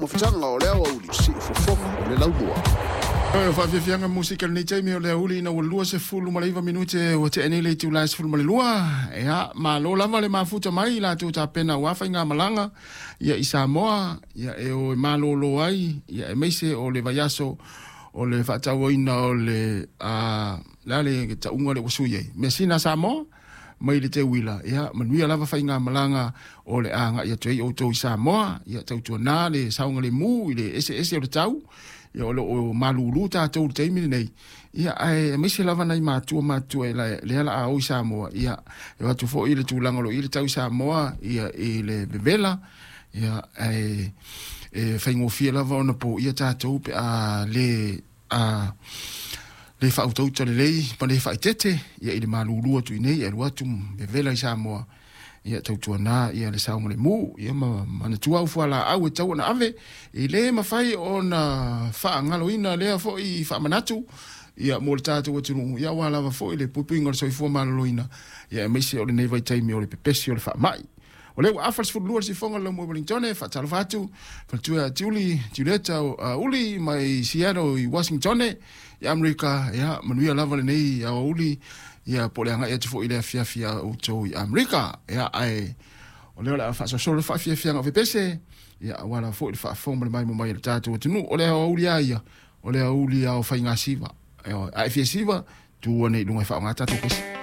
Taumafataga o le aoauli, siufofoga o le laumua. O faafiafiaga musika lenei taimi o le auli ina ua 29 minute ua tea nei le itula e 12. Ia, malo lava le mafuta mai i latou tapena aua faigamalaga ia i Samoa, ia e o e malōlō ai, ia aemaise o le vaiaso o le faatauaina o le le a le tauga lea ua sui ai measina a Samoa mai le teuila. Ia manuia lava faigamalaga o le agai atu ai outou i Samoa. Ia tautuanā le saogalemu i le eseese o le tau, ia o lo o malūlū tatou i le taimi lenei. Ia ae aemaise lava nai matua matutua e lea la a o i Samoa, ia e o atu foi le tulaga o lo o i ai le tau i Samoa, ia i le vevela, ia ae e faigofie lava ona poia tatou pe a le a le faautauta lelei ma le faaeteete ia i le malūlū atu i nei e alu atu vevela i Samoa. Ia tautuanā ia le saogalemu, ia ma manatua au fualaau e tatau ona ave, e le mafai ona faagaloina lea foi faamanatu ia mo le tatou atunuu, ia aua lava foi le puipuiga o le soifua maloloina, ia aemaise o lenei vaitaimi o le pepesi o le faamai. O lea ua afa le 12 le sifoga o le laumua i Wellingtone. Faatalofa atu faletua ia Tiuli, Tiuleta Uli mai Seattle i Washingtone i Amerika. Ia manuia lava lenei aoauli, ia po o le agai atu foi i le afiafi a outou i Amerika. Ia ae o lea o le a faasolosolo le faafiafiaga o fepese, ia aua lava foi le faafofoga ma le maimoa mai a le tatou atunuu. O le aoauli lava ia, o le aoauli lava o faigasiva. A e fia siva, tu ane i luga e faaaoga tatou pese.